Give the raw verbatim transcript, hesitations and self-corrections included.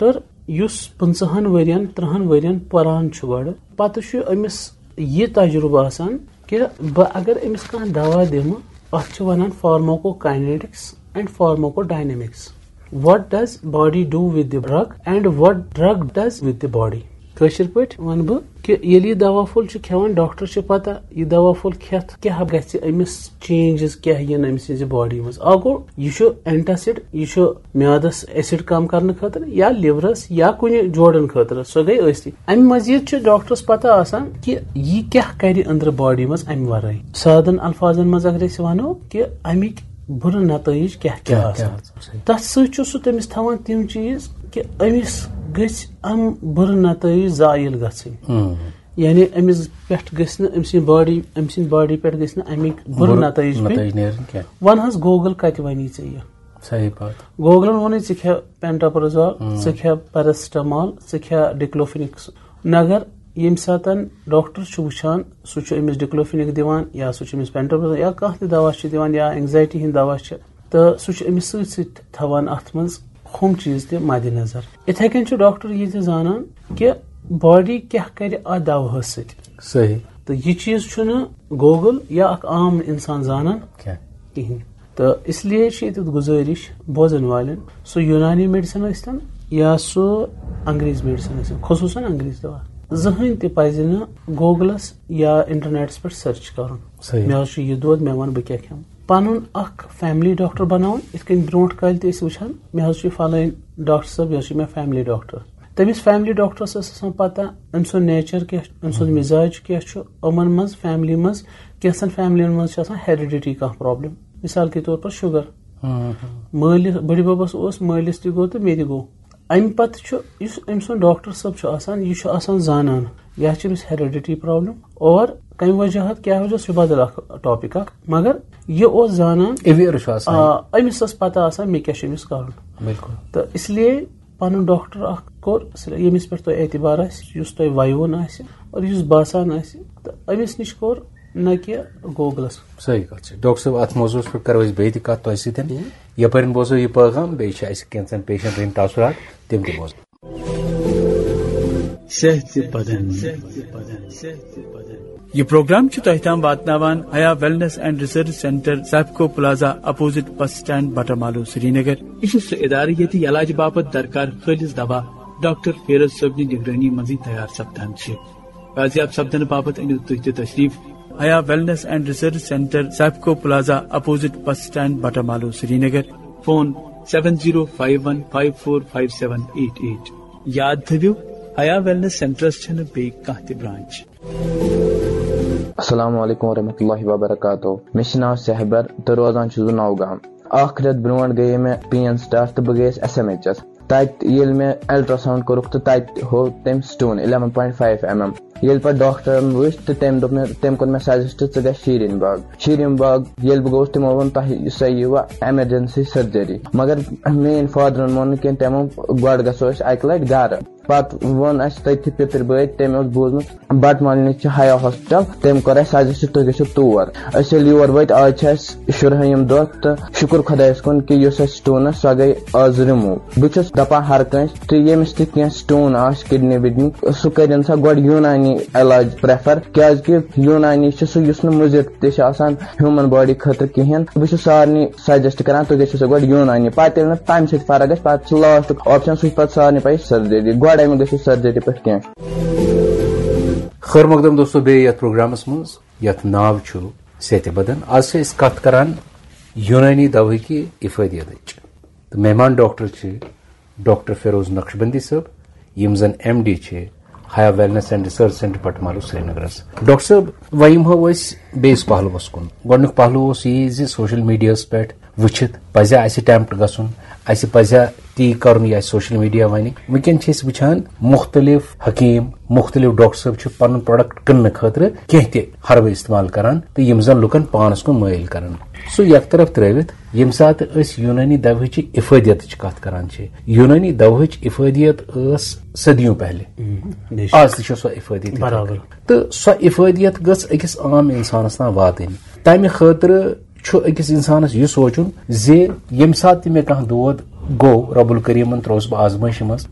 Doctor یُس پٕنٛژٕہَن ؤرین، تٕرٛہَن ؤرین پران چھُ گۄڈٕ، پتہٕ چھُ أمِس یہِ تجرُبہٕ آسان کہِ بہٕ اگر أمِس کانٛہہ دوا دِمہٕ، اتھ چھِ ونان pharmacokinetics and pharmacodynamics. What does body do with the drug and what drug does with the body? کٲشِر پٲٹھۍ وَنہٕ بہٕ کہِ ییٚلہِ یہِ دوا پھوٚل چھُ کھٮ۪وان، ڈاکٹر چھُ پتہ یہِ دوا پھوٚل کھٮ۪تھ کیٛاہ گژھِ أمِس، چینجز کیٛاہ یِن أمۍ سٕنٛزِ باڈی منٛز۔ اکھ گوٚو، یہِ چھُ اینٹاسڈ، یہِ چھُ میادس ایسڈ کم کرنہٕ خٲطرٕ یا لِورس یا کُنہِ جوڑن خٲطرٕ، سۄ گٔے ٲستی۔ امہِ مزید چھُ ڈاکٹرس پتہ آسان کہِ یہِ کیٛاہ کرِ أنٛدرٕ باڈی منٛز امہِ ورٲے۔ سادن الفاظن منٛز اگر أسۍ ونو کہِ امیِکۍ بُرٕ نتٲیج کیٛاہ کیٛاہ کیٛاہ آسان۔ کیٛاہ؟ تتھ سۭتۍ چھُ سُہ تٔمِس تھاوان تِم چیٖز کہِ أمِس گٔژھۍ یِم بُرٕ نتٲیج زٲیِل گژھٕنۍ۔ ہم۔ یعنی أمِس پٮ۪ٹھ گٔژھۍ نہٕ، أمۍ سٕنٛدِ باڈی، أمۍ سٕنٛدِ باڈی پٮ۪ٹھ گٔژھۍ نہٕ اَمِکۍ بُرٕ بُرٕ نتٲیج نتٲیج پیٚنۍ۔ نیرٕنۍ کینٛہہ۔ وَن حظ، گوگل کتہِ وَنی ژےٚ یہِ؟ صحیح بات۔ گوگلن ووٚنُے، ژٕ کھےٚ pantoprazole، ہم۔ ژٕ کھےٚ paracetamol، ژٕ کھےٚ diclofenac۔ مگر ییٚمہِ ساتن ڈاکٹر چھُ وٕچھان، سُہ چھُ أمِس diclofenac دِوان یا سُہ چھُ أمِس pantoprazole یا کانٛہہ تہِ دوا چھُ دِوان یا اینگزایٹی ہٕنٛدۍ دوا چھِ، تہٕ سُہ چھُ أمِس سۭتۍ سۭتۍ تھاوان اَتھ منٛز ہُم چیٖز تہِ مدِ نظر۔ اِتھَے کٔنۍ چھُ ڈاکٹر یہِ تہِ زانان کہِ باڈی کیٛاہ کَرِ اَتھ دَوہَس سۭتۍ۔ صحیح۔ تہٕ یہِ چیٖز چھُنہٕ گوگل یا اَکھ عام اِنسان زانان کینٛہہ۔ کِہیٖنۍ۔ تہٕ اس لیے چھِ ییٚتٮ۪تھ گُزٲرِش بوزَن والٮ۪ن، سُہ یوٗنانی میڈیسن ٲسۍتَن یا سُہ انگریز میڈیسن ٲسۍتَن، خصوٗصاً انگریز دوا، زٕہٕنۍ تہِ پَزِ نہٕ گوگلَس یا انٹرنیٹَس پٮ۪ٹھ سٔرٕچ کَرُن۔ صحیح۔ مےٚ حظ چھُ یہِ دود، مےٚ وَنہٕ بہٕ کیٛاہ کھٮ۪مہٕ۔ پنُن اکھ فیملی ڈاکٹر بناوُن، یِتھ کٔنۍ برونٛٹھ کالہِ تہِ ٲسۍ وٕچھان، مےٚ حظ چھُ یہِ فلٲنۍ ڈاکٹر صٲب، یہِ حظ چھُ مےٚ فیملی ڈاکٹر۔ تٔمِس فیملی ڈاکٹرس ٲس آسان پتہ أمۍ سُنٛد نیچر کیٛاہ چھُ، أمۍ سُنٛد مِزاج کیٛاہ چھُ، یِمن منٛز فیملی منٛز، کینٛژن فیملین منٛز چھِ آسان ہیریڈیٹی کانٛہہ پرابلم، مثال کے طور پر شُگر۔ مٲلِس، بٕڈِ ببس اوس، مٲلِس تہِ گوٚو تہٕ مےٚ تہِ گوٚو۔ امہِ پتہٕ چھُ یُس أمۍ سُنٛد ڈاکٹر صٲب چھُ آسان، یہِ چھُ آسان زانان، یہِ چھِ أمِس ہیریڈیٹی پرابلم اور کمہِ وجہہ، کیٛاہ وجہ، سُہ چھُ بدل اکھ ٹاپک اکھ، مگر یہِ اوس زانان، اویئر چھُ آسان۔ آ، أمِس ٲس پتہ آسان مےٚ کیٛاہ چھُ أمِس کرُن۔ بِلکُل۔ تہٕ اس لیے پنُن ڈاکٹر اکھ کوٚر صرف ییٚمِس پٮ۪ٹھ تۄہہِ اعتبار آسہِ، یُس تۄہہِ وَیوُن آسہِ اور یُس باسان آسہِ، تہٕ أمِس نِش کوٚر، نہ کہِ گوگلس۔ صحیح کتھ چھِ۔ ڈاکٹر صٲب، اتھ موضوعس پٮ۪ٹھ کرو أسۍ بیٚیہِ تہِ کتھ تۄہہِ سۭتۍ۔ یہِ یپٲرۍ بوزو یہِ پیغام، بیٚیہِ چھِ اَسہِ کینٛژن پیشنٹن ہٕنٛدۍ تاثرات، تِم تہِ بوزو۔ صحت بدن۔ یہ پروگرام چھُ تۄہہِ تام واتناوان Haya wellness and research centre, Sipco plaza, opposite bus stand, Batamaloo, Srinagar. یہِ چھُ سُہ ادارٕ ییٚتہِ علاج باپتھ درکار خٲلص دوا ڈاکٹر فیروز صٲبنہِ نگرٲنی منٛزٕے تیار سپدان چھِ۔ بازیاب سپدنہٕ باپتھ أنِو تُہۍ تہِ تشریف۔ Haya wellness and research centre, Sipco plaza, opposite bus stand, Batamaloo, Srinagar. Phone seven zero five one five four five seven eight eight۔ یاد تھٲوِو، حیا ویلنس سینٹرس چھنہٕ بیٚیہِ کانٛہہ تہِ برانچ۔ السلام علیکم ورحمۃ اللہ وبرکاتہ۔ مےٚ چھُ ناو سہبر تہٕ روزان چھُس بہٕ نوگام۔ اکھ رٮ۪تھ برونٛٹھ گٔیے مےٚ پین سٹارٹ تہٕ بہٕ گٔیَس ایس ایم ایچ ایس۔ تَتہِ ییٚلہِ مےٚ الٹراساؤنڈ کوٚرُکھ تہٕ تَتہِ ہوو تٔمۍ stone eleven point five mm۔ ییٚلہِ پَتہٕ ڈاکٹرن وٕچھ تہٕ تٔمۍ دوٚپ مےٚ، تٔمۍ کوٚر مےٚ سجسٹ، ژٕ گژھ شیٖرِن باغ۔ شیٖرِن باغ ییٚلہِ بہٕ گوٚوُس، تِمو ووٚن، تۄہہِ، سۄ یِیہِ وۄنۍ ایمرجنسی سرجری۔ مگر میٲنۍ فادرن مون نہٕ کینٛہہ، تٔمۍ ووٚن، گۄڈٕ گژھو أسۍ اکہِ لٹہِ گرٕ۔ پتہٕ ووٚن اسہِ تٔتھی پِتٕر بٲے، تٔمۍ اوس بوٗزمُت بٹہٕ مالنہِ چھِ حیا ہاسپٹل، تٔمۍ کوٚر اسہِ سجسٹ تُہۍ گٔژھِو تور۔ أسۍ ییٚلہِ یور وٲتۍ، آز چھِ اسہِ شُرہٲیِم دۄہ تہٕ شُکُر خۄدایس کُن کہِ یُس اسہِ stone ٲس، سۄ گٔے آز remove۔ بہٕ چھُس دپان ہر کٲنٛسہِ تہِ ییٚمِس تہِ کینٛہہ stone آسہِ کڈنی وڈنی، سُہ کٔرِن سا گۄڈٕ یوٗنانی علاج prefer، کیازِ کہِ یوٗنانی چھُ سُہ یُس نہٕ مُضر تہِ چھُ آسان human body خٲطرٕ کِہیٖنۍ۔ بہٕ چھُس سارنٕے سجسٹ کران، تُہۍ گٔژھِو سا گۄڈٕ یوٗنانی، پتہٕ ییٚلہِ نہٕ تمہِ سۭتۍ فرق گژھِ، پتہٕ چھُ لاسٹُک آپشن، سُہ چھُ پتہٕ سارنٕے پَیی، سرجری۔ گۄڈٕ اَمہِ گٔژھِو سرجری پٮ۪ٹھ کینٛہہ۔ خٲر مقدم دوستو، بیٚیہِ یتھ پروگرامس منٛز یتھ ناو چھُ صحت بدن، از چھِ أسۍ کتھ کران یوٗنٲنی دوہٕکہِ افٲدیتٕچ۔ تہٕ مہمان ڈاکٹر چھِ ڈاکٹر فیروز نقشبندی صٲب، یِم زن ایم ڈی چھِ حیا ویلنس اینڈ ریسرچ سینٹر بٹہٕ مالوٗ سرینگرس۔ ڈاکٹر صٲب، وۄنۍ یِمہو أسۍ بیٚیِس پہلوس کُن۔ گۄڈٕنیُک پہلو اوس یہِ زِ سوشل میڈیاہس پٮ۪ٹھ وٕچھِتھ پزِ اسہِ attempt گژھُن، اسہِ پزِ تی کرُن یہِ اسہِ سوشل میڈیا ونہِ۔ وٕنکیٚن چھِ أسۍ وٕچھان مختلف حکیٖم، مختلف ڈاکٹر صٲب چھِ پنُن product کٕننہٕ خٲطرٕ کینٛہہ تہِ ہربہٕ استعمال کران تہٕ یِم زن لُکن پانس کُن مٲیِل کران۔ سُہ یک طرف ترٲوِتھ، ییٚمہِ ساتہٕ أسۍ یوٗنٲنی دوہٕچہِ افٲدیتٕچ کتھ کران چھِ، یوٗنٲنی دوہٕچ افٲدیت ٲس صدیوں پہلے۔ ہم، بے شک۔ آز تہِ چھِ سۄ افٲدیت یِتھے برابر۔ کٔنۍ۔ تہٕ سۄ افٲدیت گٔژھ أکِس عام انسانس تام واتٕنۍ۔ تمہِ خٲطرٕ چھُ أکِس انسانس یہِ سونٛچُن زِ ییٚمہِ ساتہٕ تہِ مےٚ کانٛہہ دود گوٚو، رب الکریمن ترٛووُس بہٕ آزمٲیشہِ منٛز،